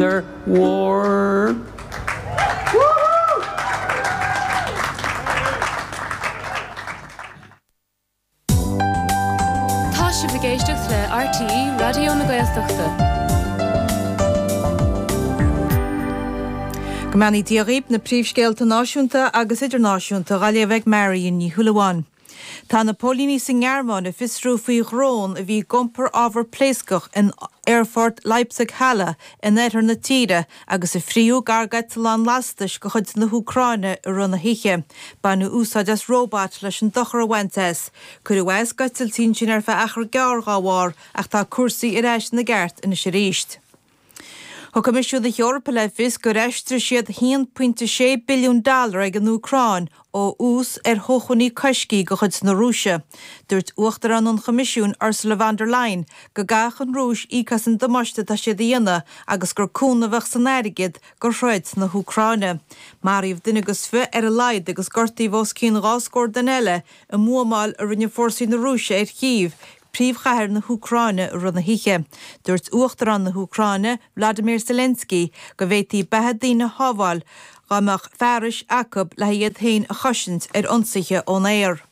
War. Tá sibh ag éisteacht le RTÉ Raidió na Gaeltachta. Go mbeannaí Dia dhaoib, na príomhscéalta náisiúnta agus idirnáisiúnta dhá léamh ag Marion Ní Shúilleabháin. Tá na póilíní sa nGearmáin ag fiosrú faoi dhrón a bhí ag iompar ábhar pléascach in aerfort Leipzig-Halle in oirthear na tíre agus a frítheadh gar d'eiteallán lastais de chuid na hÚcráine i rith na hoíche. Baineadh úsáid as róbat leis an dochar a bhaint as. Cuireadh as d'eitiltí ansin ar feadh achar gearr dá bharr ach tá cúrsaí ar ais ina gceart anois arís. Thug Coimisiún na hEorpa le fios gur aistrigh siad 1.6 billiún dollar ag an Úcráin ó ús ar shócmhainní coiscthe de chuid na Rúise. Dúirt Uachtarán an Choimisiúin Ursula von der Leyen go gcaithfeadh an Rúis íoc as an damáiste atá siad a dhéanamh agus gur cúnamh a bheadh san airgead do throid na hÚcráine. Maraíodh duine agus fi ar a laghad agus gortaíodh os cionn dhá scór duine eile i mbuamáil a rinne fórsaí na Rúise ar Chív, príomhchathair na hÚcráine i rith na hoíche. Dúirt Uachtarán na hÚcráine, Vladimir Zelensky, go bhféadfaí beatha daoine a shábháil dá mbeadh fearais acu le iad féin a chosaint ar ionsaithe ón aer.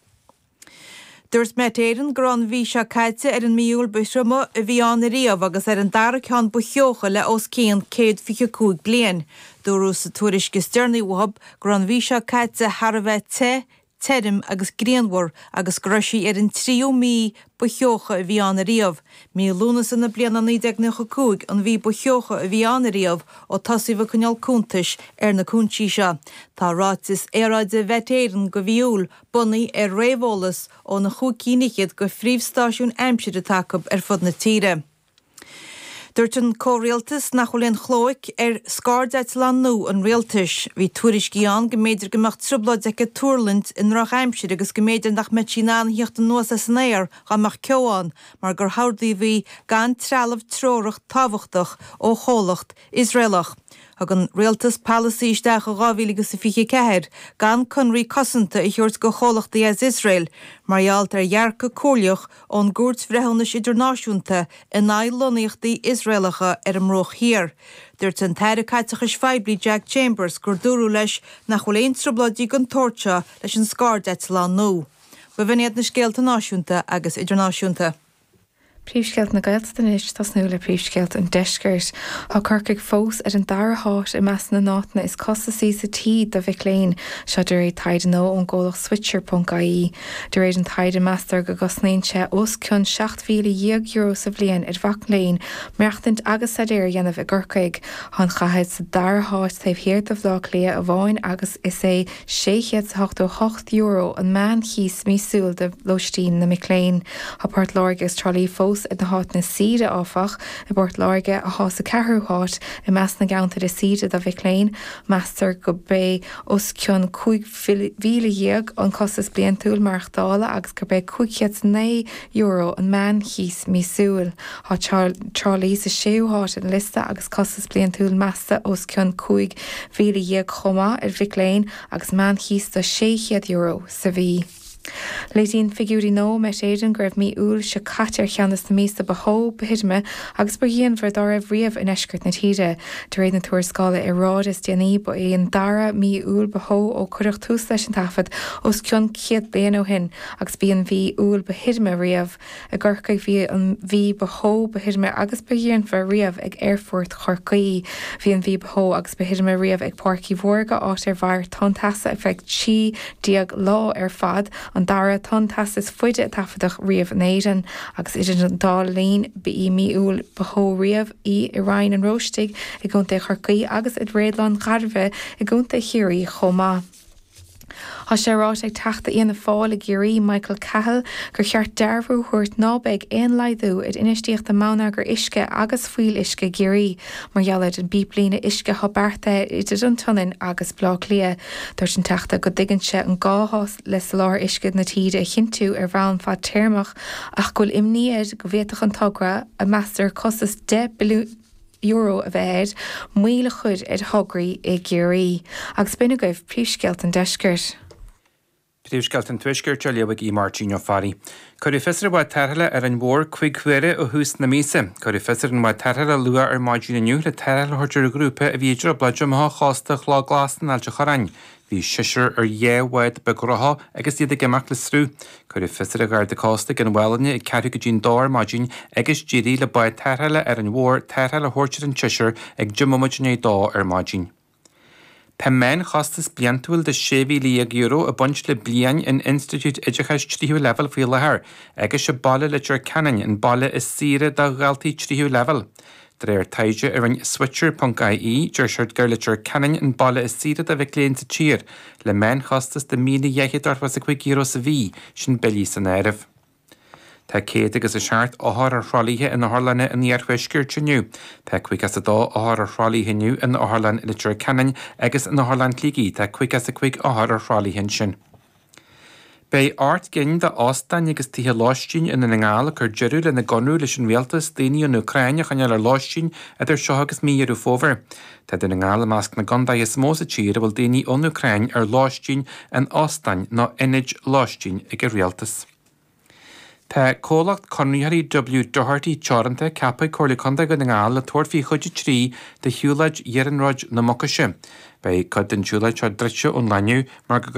Dúirt Met Éireann go raibh an mhí seo caite ar an mí Iúil ba thrioma a bhí ann ariamh agus ar an dara ceann ba theocha le os cionn 125 bliain. Dúradh sa tuairisc is deireanaí uathu go raibh an mhí seo caite thar a bheith te, tirim agus grianmhar agus go raibh sí ar an tríú mí ba theocha a bhí ann ariamh. Mí Lúnasa na bliana 1995 an mhí ba theocha a bhí ann ariamh ó tosaíodh ag coinneáil cuntais ar na cúinsí seo. Tá ráiteas aeráide Mhet Éireann do mhí Iúil bunaithe ar réamheolas ó na chúig cinn fhichead de phríomhstáisiúin aimsire atá acu ar fud na tíre. Dúirt an comhrialtas nach bhfuil aon chlóic ar scairdeitleán nua an rialtais. Bhí tuairiscí ann go mb'fhéidir go mbeadh trioblóid aici tuirlingt i ndrochaimsir agus go mb'fhéidir nach mbeadh sí in ann a thíocht anuas as an aer dá mbeadh ceo ann mar gur hordaíodh í gan trealamh treorach tábhachtach ó chomhlacht Iosraelach. Thug an rialtas polasaí isteach i 2024 gan conraí cosanta a thabhairt do chomhlachtaí as Iosrael mar gheall ar dhearcadh comhairleach ón gCúirt Bhreithiúnais Idirnáisiúnta in aghaidh lonnaíochtaí Iosraelacha ar an mBruach Thiar. Dúirt an tAire Caiteachais Phoiblí Jack Chambers gur dúradh leis nach bhfuil aon trioblóidí den tsórt seo leis an scairdeitleán nua. B'in iad na scéalta náisiúnta agus idirnáisiúnta. Príomhscéalta na Gaeltachta anois, tosnú le príomhscéalta an Deiscirt. Tá Corcaigh fós ar an dara háit i measc na n-áiteanna is costasaí sa tír do mhic léinn, seo de réir taighde nua ón gcomhlacht Switcher.ie. De réir an taighde, meastar go gcosnaíonn sé os cionn €17,000 sa bhliain ar mhac léinn maireachtaint agus staidéar a dhéanamh i gCorcaigh. Tá an chathair sa dara háit taobh thiar de Bhaile Átha Cliath amháin agus is é €688 an meán-chíos míosúil do lóistín na mic léinn. Tá Port Láirge agus Trá Lí fós ar na háiteanna is saoire, áfach. I bPort Láirge, atá sa ceathrú háit i measc na gceantar is saoire do mhic léinn, meastar gurb é os cionn 15,000 an costas bliantúil maireachtála agus gurb é €509 an meán-chíos míosúil. Tá Trá Lí sa séú háit ar an liosta agus costas bliantúil measta os cionn 15,000 chomh maith ar mhic léinn agus meánchíos de €600 sa mhí. Léiríonn figiúirí nua ó Met Éireann go raibh mí Iúil seo caite ar cheann de na míosa ba theo, ba thirime agus ba ghrianmhaire dá raibh riamh i ndeisceart na tíre. De réir na tuarascála aeráide is déanaí, ba é an dara mí Iúil ba theo ó cuireadh tús leis an taifead os cionn 100 bliain ó shin agus b'í an mhí Iúil ba thirime riamh. I gCorcaigh bhí an mhí ba theo, ba thirime agus ba ghrianmhaire riamh ag Aerfort Chorcaí. Bhí an mhí ba theo agus ba thirime riamh ag Páirc Uí Mhórdha, áit ar mhair tonn teasa ar feadh 13 lá ar fad, an dara tonn teasa is faide a taifeadadh riamh in Éirinn. Agus idir an dá linn, ba í mí Iúil ba theo riamh í i Rinn an Róistigh i gContae Chorcaí agus i Réadlann Ghairbhith i gContae Chiarraí chomh maith. Tá sé ráite ag Teachta Fhianna Fáil i gCiarraí, Michael Cahill, gur cheart dearbhú a thabhairt ná beidh aon laghdú ar infheistíocht i mbonneagar uisce agus fuíolluisce i gCiarraí mar gheall ar an bpíblíne uisce atá beartaithe idir an tSionainn agus Baile Átha Cliath. Dúirt an Teachta go dtuigeann sé an gá atá le soláthar uisce na tíre a chinntiú ar bhonn fadtéarmach ach go bhfuil imní air go bhféadfadh an togra, a meastar costas €10 billiún a bheith air, moill a chur ar thograí i gCiarraí. Agus b'in agaibh príomhscéalta an deiscirt. Príomhscéalta an Tuaiscirt á léamh ag Aodh Máirtín Ó Fearraigh. Cuireadh fios ar bhád tarrthála Árainn Mhór 5 huaire ó thús na míosa. Cuireadh fios ar an bhád tarrthála luath ar maidin inniu le tarrtháil a thabhairt ar ghrúpa a bhí i dtrioblóid amach ó chósta Chloch Glas in Ailt a' Chorráin. Bhí seisear ar dhá bhád beag rotha agus iad ag imeacht le sruth. Cuireadh fios ar an Gharda Cósta ag an Mhálainne ag ceathrú go dtí an dó ar maidin agus d'éirigh le bád tarrthála Árainn Mhór tarrtháil a thabhairt ar an tseisear ag 19 mbomaite i ndiaidh a dó ar maidin. Tá meánchostas bliantúil de €16,000 ag baint le bliain in institiúid oideachais tríú leibhéal faoi láthair agus sé baile Leitir Ceanainn an baile is saoire do dhaltaí tríú leibhéal. De réir taighde a rinne Switcher ponc ie, deir siad gur Leitir Ceanainn an baile is saoire do mhic léinn sa tír, le meánchostas de €1,285 sa mhí, sin billí san áireamh. Tá céad agus a seacht othar ar thralaithe in otharlanna an iarthuaiscirt inniu. Tá 52 othar ar thralaithe inniu in Otharlann Leitir Ceanainn agus in Otharlann Shligigh tá 55 othar ar thralaithe ansin. Beidh 8 gcinn d'óstáin agus tithe lóistín i nDún na nGall ag cur deireadh lena gconradh leis an rialtas daoine ón Úcráin a choinneáil ar lóistín idir seo agus mí Dheireadh Fómhair. Tá Dún na nGall i measc na gcontaetha is mó sa tír a bhfuil daoine ón Úcráin ar lóistín in óstáin nó ionaid lóistín ag an rialtas. Tá comhlacht conraitheoirí W Doherty Teoranta ceaptha ag Comhairle Contae Dhún na nGall le tabhairt faoi chuid 3 de shiúlóid Iarnróid na Mucaise. Beidh cuid den tsiúlóid seo druidte ón lá inniu mar go.